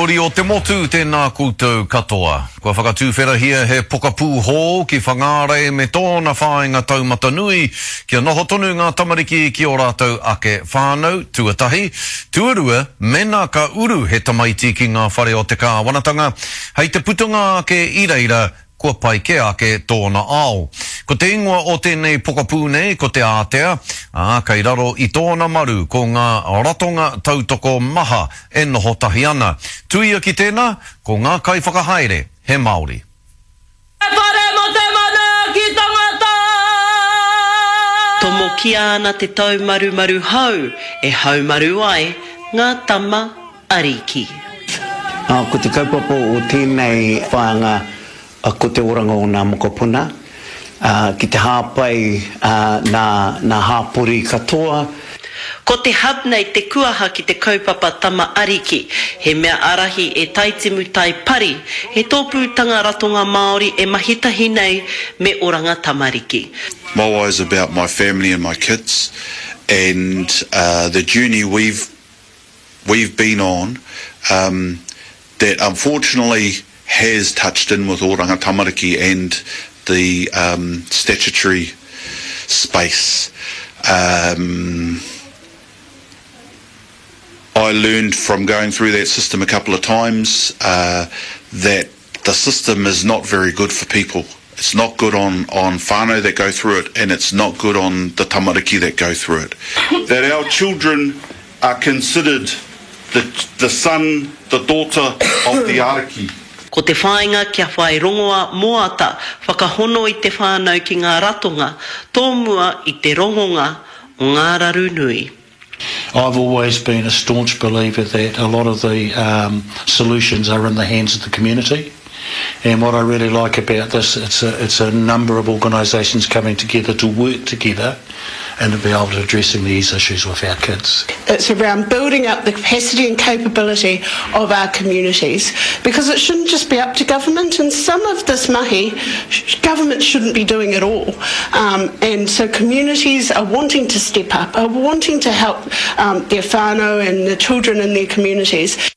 Uri o te motu, tēnā koutou katoa. Kua whakatūwherahia he pokapū hou ki Whangārei me tōna whāinga taumata nui kia noho tonu ngā tamariki ki ō rātou ake whānau, tuatahi. Tuarua, mēnā ka uru he tamaiti ki ngā whare o te kāwanatanga, hei te putanga ake i reira, kua pai kē ake tōna ao. Ko te ingoa o tēnei pokapū nei ko Te Ātea, ā, kei raro i tōna maru ko ngā ratonga tautoko maha e noho tahi ana. Tuia ki tēnā, ko ngā kaiwhakahaere he Māori. He whare mō te manaaki tangata. Tomokia ana te taumarumaru hou e haumaru ai ngā tama Ariki. Ā, ko te kaupapa o tēnei whāinga ko te oranga o nā mokopuna, ā, ki te hāpai nā, nā hāpori katoa. Ko te hub nei te kuaha ki te kaupapa Tama Ariki, he mea ārahi e Taitimu Tai Pari, he tōpūtanga ratonga Māori e mahi tahi nei me Oranga Tamariki. Maoai is about my family and my kids and the journey we've we've been on um, that unfortunately has touched in with Oranga Tamariki and the um, statutory space. Um, I learned from going through that system a couple of times uh, that the system is not very good for people. It's not good on, on whānau that go through it and it's not good on the tamariki that go through it. That our children are considered the, the son, the daughter of the ariki. Ko te whāinga kia whai rongoa moata whakahono i te whānau ki ngā ratonga tōmua i te rongonga o ngā raru nui. I've always been a staunch believer that a lot of the um, solutions are in the hands of the community. And what I really like about this, it's a, it's a number of organisations coming together to work together and to be able to addressing these issues with our kids. It's around building up the capacity and capability of our communities because it shouldn't just be up to government and some of this mahi government shouldn't be doing at all. Um, and so communities are wanting to step up, are wanting to help um, their whānau and the children in their communities.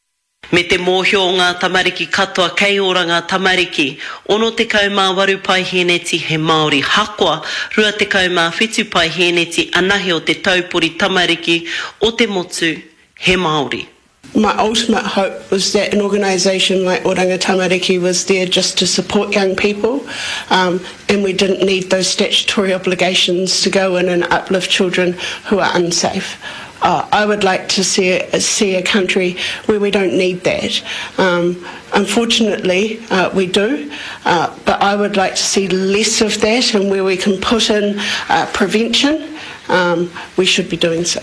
Me te mōhio o ngā tamariki katoa kei ora ngā tamariki, 68 paihēneti he Māori hakoa, 27 paihēneti anahe o te taupori tamariki o te motu he Māori. My ultimate hope was that an organisation like Oranga Tamariki was there just to support young people um, and we didn't need those statutory obligations to go in and uplift children who are unsafe. Uh, I would like to see a, see a country where we don't need that. Um, unfortunately, uh, we do, uh, but I would like to see less of that and where we can put in uh, prevention, um, we should be doing so.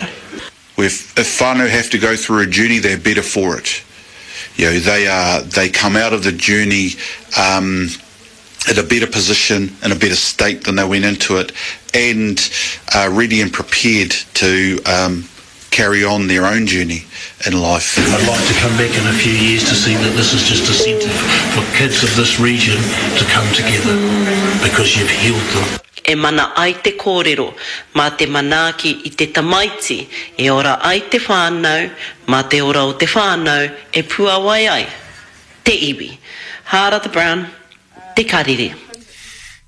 If, if whānau have to go through a journey, they're better for it. You know, they are they come out of the journey um, in a better position, in a better state than they went into it, and uh, ready and prepared to um, carry on their own journey in life. I'd like to come back in a few years to see that this is just a centre for kids of this region to come together because you've healed them. E mana ai te kōrero, mā te manaaki i te tamaiti e ora ai te whānau, mā te ora o te whānau e puāwai ai te iwi. Hārata Brown, Te Karere.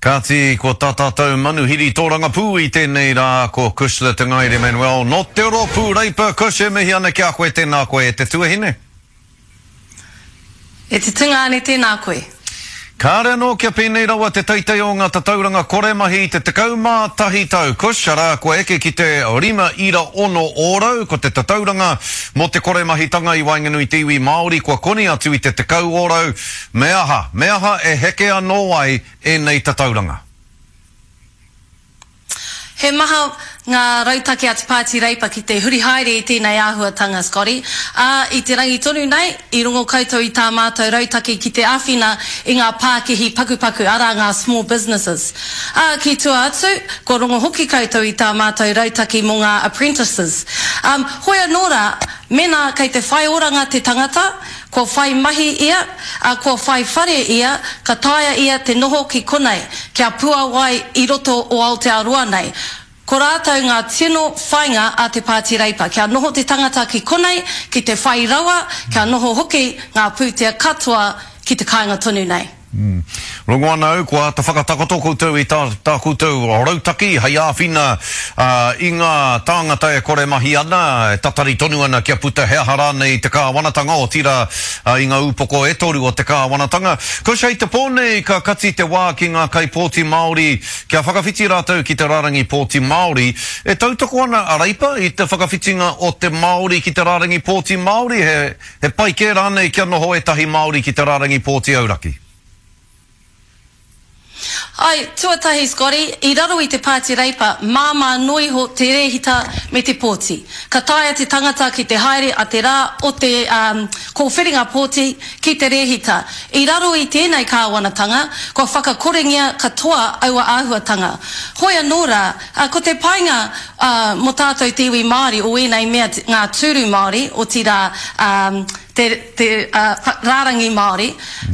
Kāti, ko tā tātou manuhiri tōrangapū i tēnei rā, ko Cushla Te Ngaere Manuel nō te Rōpū Reipa. Cush, e mihi ana ki a koe, tēnā koe e te tuahine. E te tungāne tēnā koe. Kāre anō kia pēnei rawa te teitei o ngā tatauranga kore mahi i te 11 tau, Cush, arā, kua eke ki te 5.6 ōrau, ko te tatauranga mō te kore mahitanga i waenganui i te iwi Māori kua koni atu i te 10 ōrau. Me aha, me aha e heke anō ai ēnei tatauranga? He maha ngā rautaki a Te Pāti Reipa ki te huri haere i tēnei āhuatanga, Scotty. Ā, i te rangi tonu nei, i rongo koutou i tā mātou rautaki ki te āwhina i ngā pākihi pakupaku, arā ngā small businesses. Ā, ki tua atu, kua rongo hoki koutou i tā mātou rautaki mō ngā apprentices. Ā, hoi anō rā, mēnā kei te whai oranga te tangata, Kua whai mahi ia, ā, kua whai whare ia, ka taea ia te noho ki konei, kia puawai i roto o Aotearoa nei. Ko rātou ngā tino whainga a te Pāti Reipa, kia noho te tangata ki konei, ki te whai rawa, kia noho hoki ngā pūtea katoa ki te kāinga tonu nei. Rongo ana au kua āta whakatakoto koutou i tā, tā koutou rautaki hei āwhina i ngā tāngata e kore mahi ana, e tatari tonu ana kia puta he aha rānei te kāwanatanga, otirā i ngā upoko e toru o te kāwanatanga. Kush, hei te pō nei ka kati te wā ki ngā kaipōti Māori Kia whakawhiti rātou ki te rārangi pōti Māori, e tautoko ana a Reipa i te whakawhitinga o te Māori ki te rārangi pōti Māori, he, he pai kē rānei kia noho ētahi Māori ki te rārangi pōti auraki? Āe, tuatahi Scotty, i raro i te Pāti Reipa, māmā noa iho te rēhita me te pōti. Ka taea te tangata ki te haere a te rā o te, um, kōwhiringa pōti ki te rēhita. I raro i tēnei kāwanatanga, kua whakakorengia katoa aua āhuatanga. Hoi anō rā, ko te painga mō tātou te iwi Māori o ēnei mea ngā tūru Māori, otirā te, te rārangi Māori,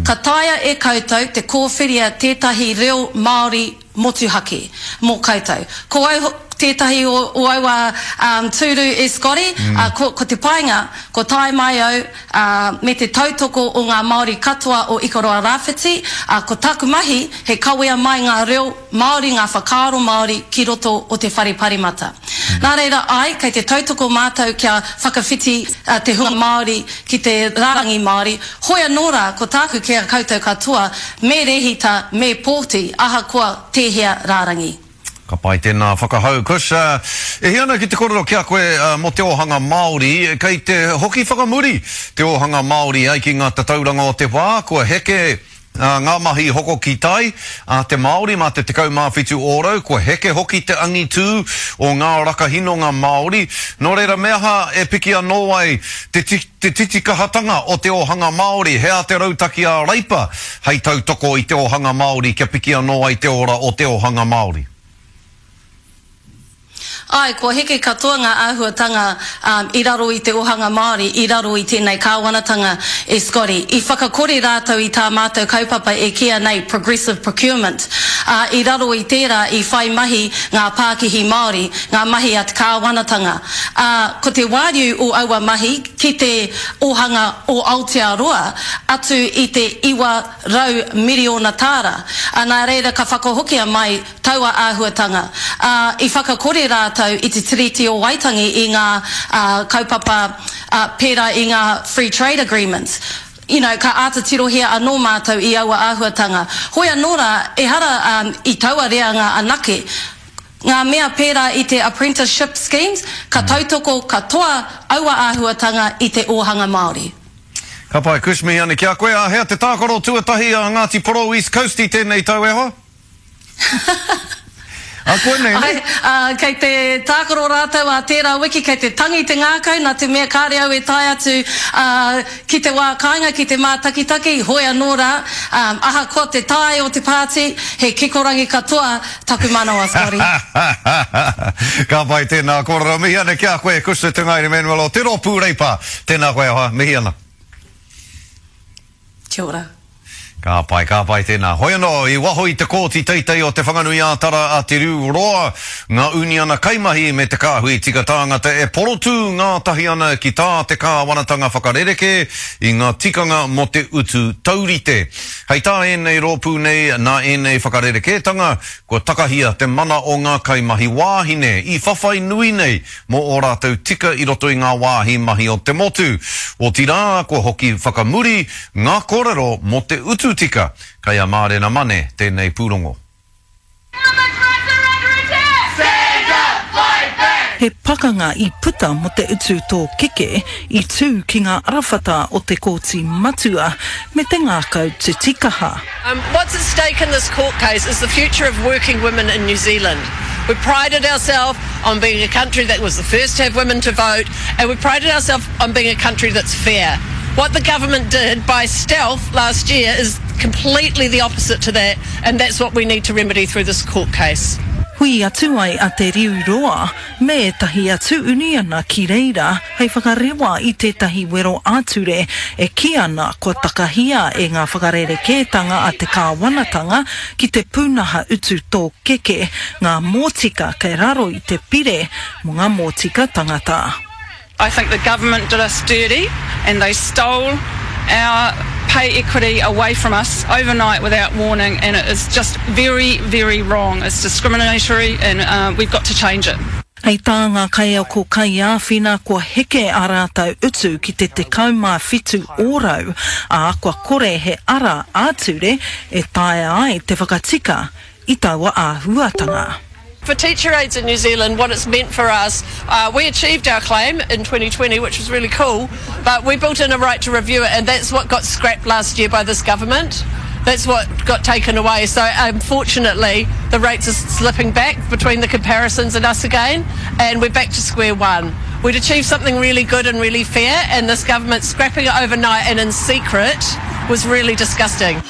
ka taea e koutou te kōwhiria tētahi reo Māori motuhake mō koutou. Ko au tētahi o, o aua um, tūru e Scotty, mm. uh, ko, ko te painga, ko tae mai au uh, me te tautoko o ngā Māori katoa o Ikaroa Rāwhiti, uh, ko taku mahi he kawea mai ngā reo Māori, ngā whakaaro Māori ki roto o te whare paremata. Mm. Nā reira, ai, kei te tautoko mātou kia whakawhiti uh, te hunga Māori ki te rārangi Māori, Hoi anō rā, ko tāku ki a koutou katoa, me rehita, me pōti, ahakoa tēhea rārangi. Ka pai tēnā whakahau, Kush. E hia ana ki te kōrero ki a koe mō te ōhanga Māori, kei te hoki whakamuri te ōhanga Māori ai ki ngā tatauranga o te wā, kua heke ngā mahi hoko ki tai a te Māori mā te 17 ōrau, kua heke hoki te angitū o ngā rakahinonga Māori, nō reira me aha e piki anō ai te te titikahatanga o te ōhanga Māori, he aha te rautaki a Reipa hei tautoko i te ōhanga Māori kia piki anō ai te ora o te ōhanga Māori? Āe, kua heke katoa ngā āhuatanga i raro i te ōhanga Māori, i raro i tēnei kāwanatanga e Scotty. I whakakore rātou i tā mātou kaupapa e kīia nei progressive procurement, ā, i raro i tērā i whai mahi ngā pākihi Māori, ngā mahi a te kāwanatanga. Ā, ko te wāriu o aua mahi ki te ōhanga o Aotearoa atu i te 900 miriona tāra. Ā, nā reira ka whakahokia mai taua āhuatanga, ā, i whakakore rātou i te Tiriti o Waitangi i ngā, ā, kaupapa, ā, pērā i ngā Free Trade Agreements. You know, ka āta tirohia anō mātou i aua āhuatanga. Hoi anō rā, ehara, ā, i taua reanga anake, ngā mea pērā i te apprenticeship schemes, ka tautoko katoa aua āhuatanga i te ōhanga Māori. Ka pai, Kush, mihi ana ki a koe. Āhea te tākaro tuatahi a Ngāti Porou East Coast i tēnei tau e hoa? A koinei, ne? Ai, ā, kei te tākaro rātou ā tērā wiki, kei te tangi te ngākau, nā te mea kāre au e tae atu, ā, ki te wā kāinga, ki te mātakitaki, hoi anō rā, ā, ahakoa te tae o te pāti, he kikorangi katoa taku manawa, Scotty. Ka pai tēnā kōrero. Mihi ana ki a koe, Kushner Te Ngaere Manuel o Te Rōpū Reipa. Tēnā koe e hoa, mihi ana. Kia ora. Ka pai, ka pai tēnā. Hoi anō, i waho i te Kōti Teitei o Te Whanganui-ā-Tara a Te Riu Roa, ngā uniana kaimahi me te kāhui tika tāngata e porotū ngātahi ana ki tā te kāwanatanga whakarerekē i ngā tikanga mō te utu taurite. Hei tā ēnei rōpū nei, nā ēnei whakarerekētanga, kua takahia te mana o ngā kaimahi wāhine i whawhai nui nei mō ō rātou tika i roto i ngā wāhi mahi o te motu. Otirā, kua hoki whakamuri ngā kōrero mō te utu tika. Kei a Mārena Mane tēnei pūrongo. He pakanga i puta mō te utu tōkeke i tū ki ngā arawhata o te Kōti Matua me te ngākau titikaha. What's at stake in this court case is the future of working women in New Zealand. We prided ourselves on being a country that was the first to have women to vote, and we prided ourselves on being a country that's fair. What the government did by stealth last year is completely the opposite to that, and that's what we need to remedy through this court case. Hui atu ai a Te Riu Roa me ētahi atu uniana ki reira hei whakarewa i tētahi wero ā-ture e kī ana kua takahia e ngā whakarerekētanga a te kāwanatanga ki te pūnaha utu tōkeke ngā mōtika kei raro i te Pire mō ngā Mōtika Tangata. I think the government did us dirty and they stole our pay equity away from us overnight without warning and it is just very, very wrong. It's discriminatory and uh, we've got to change it. Hei tā ngā kaiako kaiāwhina kua heke ā rātou utu ki te 17 ōrau, ā, kua kore he ara ā-ture e taea ai te whakatika i taua āhuatanga. For teacher aides in New Zealand, what it's meant for us, uh, we achieved our claim in 2020, which was really cool, but we built in a right to review it, and that's what got scrapped last year by this government. That's what got taken away. So unfortunately, the rates are slipping back between the comparisons and us again, and we're back to square one. We'd achieved something really good and really fair, and this government scrapping it overnight and in secret was really disgusting.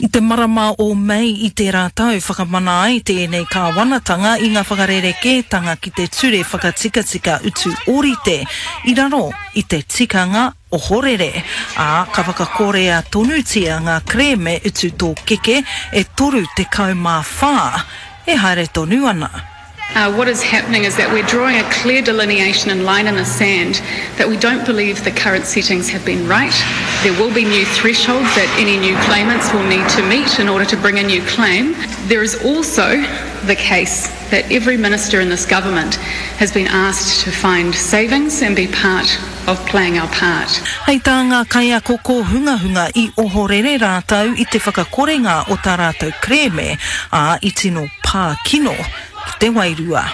I te marama o Mei i tērā tau, whakamana ai tēnei kāwanatanga i ngā whakarerekētanga ki te Ture Whakatikatika Utu Ōrite i raro i te tikanga ohorere, ā, ka whakakorea tonutia ngā kerēme utu tōkeke e 34 e haere tonu ana. Uh, what is happening is that we're drawing a clear delineation and line in the sand that we don't believe the current settings have been right. There will be new thresholds that any new claimants will need to meet in order to bring a new claim. There is also the case that every minister in this government has been asked to find savings and be part of playing our part. Hei tā ngā kaiako kōhungahunga i ohorere rātou i te whakakorenga o tā rātou kerēme, ā, i tino pā kino ki te wairua.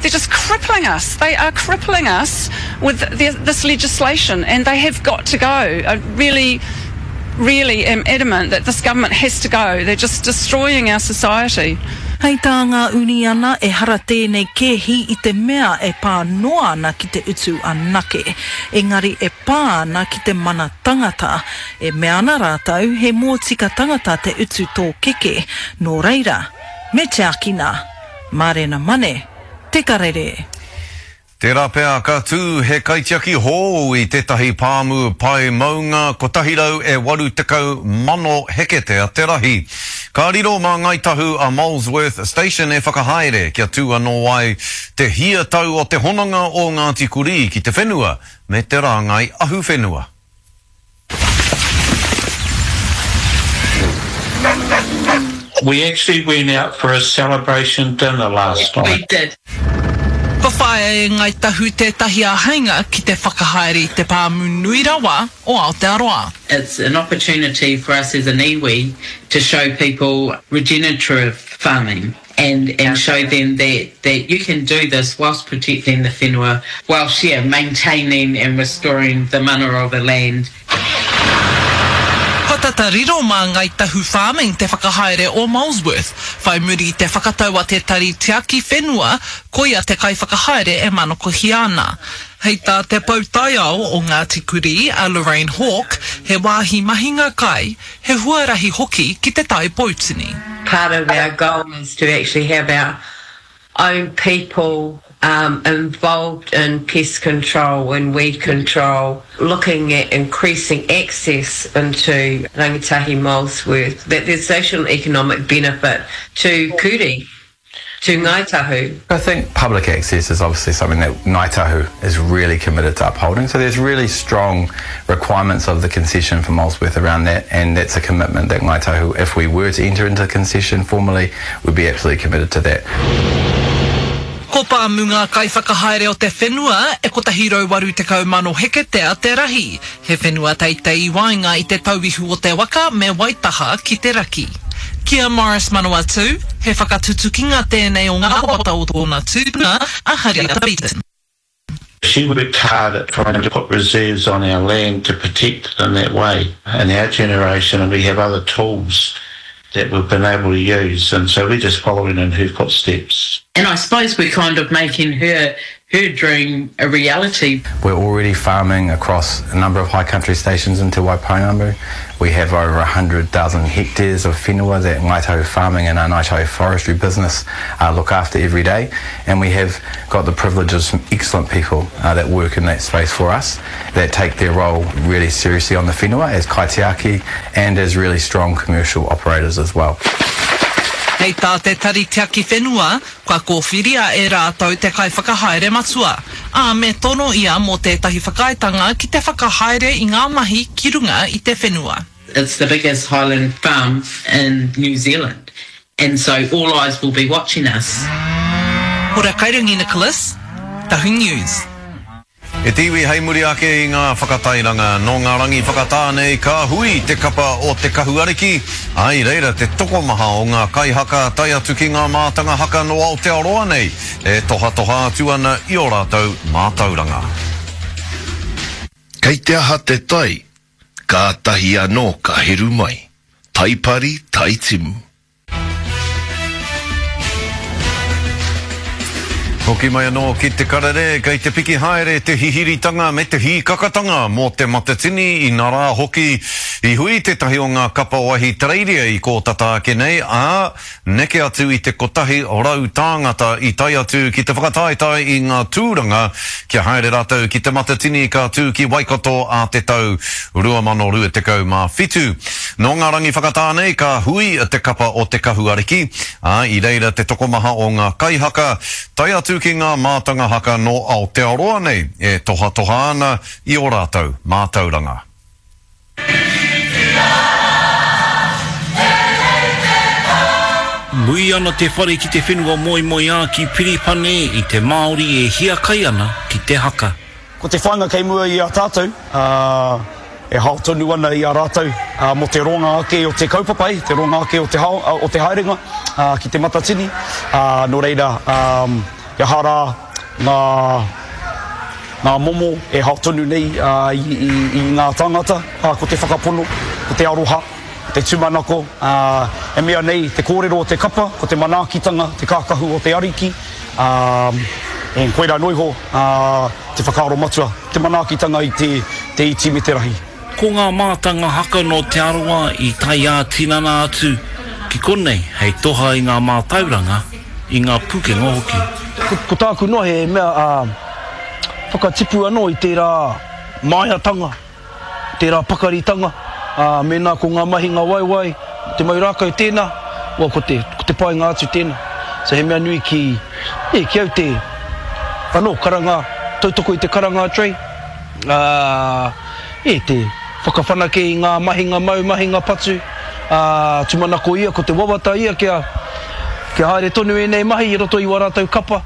They're just crippling us. They are crippling us with the, this legislation and they have got to go. I really, really am adamant that this government has to go. They're just destroying our society. Hei tā ngā uniana, ehara tēnei kēhi i te mea e pā noa ana ki te utu anake, engari e pā ana ki te mana tangata. E mea ana rātou he mōtika tangata te utu tōkeke, nō reira, me tiakina. Mārena Mane, Te Karere. Tērā pea ka tū he kaitiaki hōu i tētahi pāmu pae maunga 180,000 heketea te rahi. Ka riro mā Ngāi Tahu a Molesworth Station e whakahaere kia tū anō ai te hia tau o te hononga o Ngāti Kurī ki te whenua me te rāngai ahuwhenua. We actually went out for a celebration dinner last night. We did. Kua whāia e Ngāi Tahu tētahi āheinga ki te whakahaere i te pāmu nui rawa o Aotearoa. It's an opportunity for us as an iwi to show people regenerative farming and and show them that that you can do this whilst protecting the whenua, whilst yeah, maintaining and restoring the mana of the land. Kua tata riro mā Ngāi Tahu Farming te whakahaere o Molesworth, whai muri i te whakatau a te Tari Tiaki Whenua koia te kaiwhakahaere e manakohia ana. Hei tā te pou taiao o Ngāti Kurī, a Lorraine Hawke, he wāhi mahinga kai, he huarahi hoki ki te Tai Poutini. Part of our goal is to actually have our own people um, involved in pest control and weed control, looking at increasing access into Rangitahi Molesworth, that there's social and economic benefit to Kuri to Ngāi Tahu. I think public access is obviously something that Ngāi Tahu is really committed to upholding. So there's really strong requirements of the concession for Molesworth around that, and that's a commitment that Ngāi Tahu, if we were to enter into the concession formally, would be absolutely committed to that. Ko Pāmu ngā kaiwhakahaere o te whenua e 180,000 heketea te rahi. He whenua teitei i waenga i te tauihu o te waka me Waitaha ki te raki. Ki a Morris Manawatu, he whakatutukinga tēnei o ngā wawata o tōna tupuna, a Hariata Beaton. She worked hard at trying to put reserves on our land to protect it in that way. In our generation, and we have other tools that we've been able to use, and so we're just following in her footsteps. And I suppose we're kind of making her her dream a reality. We're already farming across a number of high country stations in Te Waipounamu. We have over 100,000 hectares of whenua that Ngāi Tahu Farming and our Ngāi Tahu Forestry business uh, look after every day. And we have got the privilege of some excellent people uh, that work in that space for us, that take their role really seriously on the whenua as kaitiaki and as really strong commercial operators as well. Hei tā te Tari Tiaki Whenua, kua kōwhiria e rātou te kaiwhakahaere matua, ā, me tono ia mō tētahi whakaaetanga ki te whakahaere i ngā mahi ki runga i te whenua. It's the biggest highland farm in New Zealand and so all eyes will be watching us. Hora Kairangi Nicholas, Tahu News. E te iwi hei muri ake i ngā whakatairanga, nō ngā rangi whakatā nei ka hui te kapa o Te Kahu Ariki, ā, i reira te tokomaha o ngā kaihaka tae atu ki ngā mātanga haka nō Aotearoa nei e tohatoha atu ana i ō rātou mātauranga. Kei te aha te tai, kātahi anō ka heru mai. Taipari, taitimu. Hoki mai anō ki te karere, kei te piki haere te hihiritanga me te hīkakatanga mō Te Matatini, inarā hoki i hui tētahi o ngā kapa o Ahitereiria i kō tata ake nei, ā, neke atu i te 100 tāngata i tae atu ki te whakataetae i ngā tūranga kia haere rātou ki Te Matatini ka tū ki Waikato ā te tau 2027. Nō ngā rangi whakatā nei ka hui te kapa o Te Kahu Ariki, ā, i reira te tokomaha o ngā kaihaka, tae atu ki ngā mātanga haka nō Aotearoa nei e tohatoha ana i ō rātou mātauranga. Mui ana te whare ki te whenua moemoeā ki Piripane i te Māori e hiakai ana ki te haka. Ko te whāinga kei mua i a tātou, ā, e hao tonu ana i a rātou mō te roanga ake o te kaupapa, e, te roanga ake o te hao, o te haerenga ki Te Matatini. Ā, nō reira, ā, he aha rā ngā, ngā momo e hao tonu nei i, i, i ngā tāngata, ā, ko te whakapono, ko te aroha, ko te tūmanako, ā, e mea nei te kōrero o te kapa, ko te manaakitanga, te kākahu o te Ariki, ā, e, koirā noa iho, ā, te whakaaro matua, te manaakitanga i te, te iti me te rahi. Ko ngā mātanga haka nō Te Arawa i tae ā-tinana atu ki konei hei toha i ngā mātauranga, i ngā pukenga hoki. Ko tāku noa he mea whakatipu anō i tērā māiatanga. Tērā pakaritanga, ā, mēnā ko ngā mahinga waiwai, te mau rākau tēnā, well, ko te, ko te painga atu tēnā. So he mea nui ki, e, ki au te, anō, karanga, tautoko i te karanga a Trey, ā, e, te whakawhanake i ngā mahinga mau, mahinga patu, ā, tūmanako ia, ko te wawata ia kia, kia haere tonu ēnei mahi i roto i wā rātou kapa.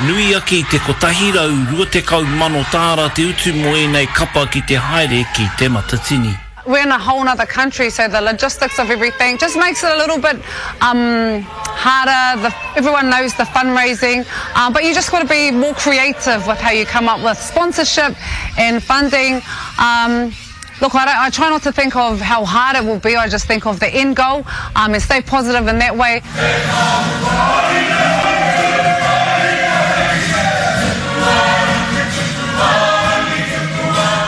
Nui ake i te 120,000 tāra te utu mō ēnei kapa ki te haere ki Te Matatini. We're in a whole nother country so the logistics of everything just makes it a little bit um harder, the everyone knows the fundraising um but you just got to be more creative with how you come up with sponsorship and funding um Look, I, I try not to think of how hard it will be, I just think of the end goal um, and stay positive in that way.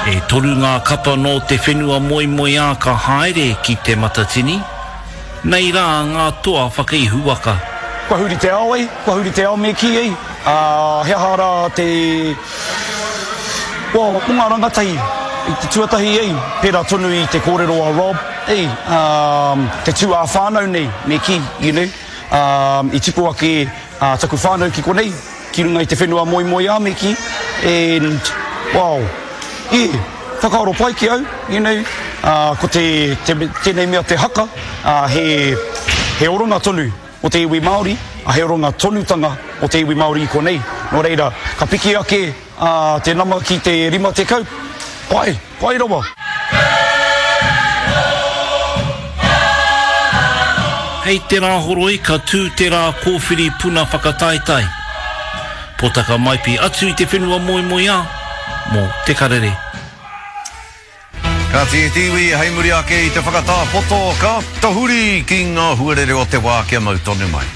E toru ngā kapa nō te whenua moemoeā ka haere ki Te Matatini. Nei rā ngā toa whakaihu waka. Kua huri te ao ei, kua huri te ao me kī ei, ā, he aha rā te, well, mō ngā rangatahi i te tuatahi ei, pērā tonu i te kōrero a Rob, ei, ā, te tū ā-whānau nei me kī, you know, ā, i tipu ake taku whānau ki konei, ki runga i te whenua moemoeā me kī, and, wow, yeah, whakaaro pai ki au, you know, ā, ko te, te, tēnei mea te haka, ā, he, he oranga tonu o te iwi Māori, ā, he oranga tonutanga o te iwi Māori i konei. Nō reira, ka piki ake, ā, te nama ki te 50, pai, pai rawa. Hei te Rāhoroi ka tū te rā kōwhiri puna whakataetae. Potaka Maipi atu i te whenua moemoeā mō Te Karere. Kāti e te iwi, hei muri ake i te whakatā poto, ka tahuri ki ngā huarere o te wā kia mau tonu mai.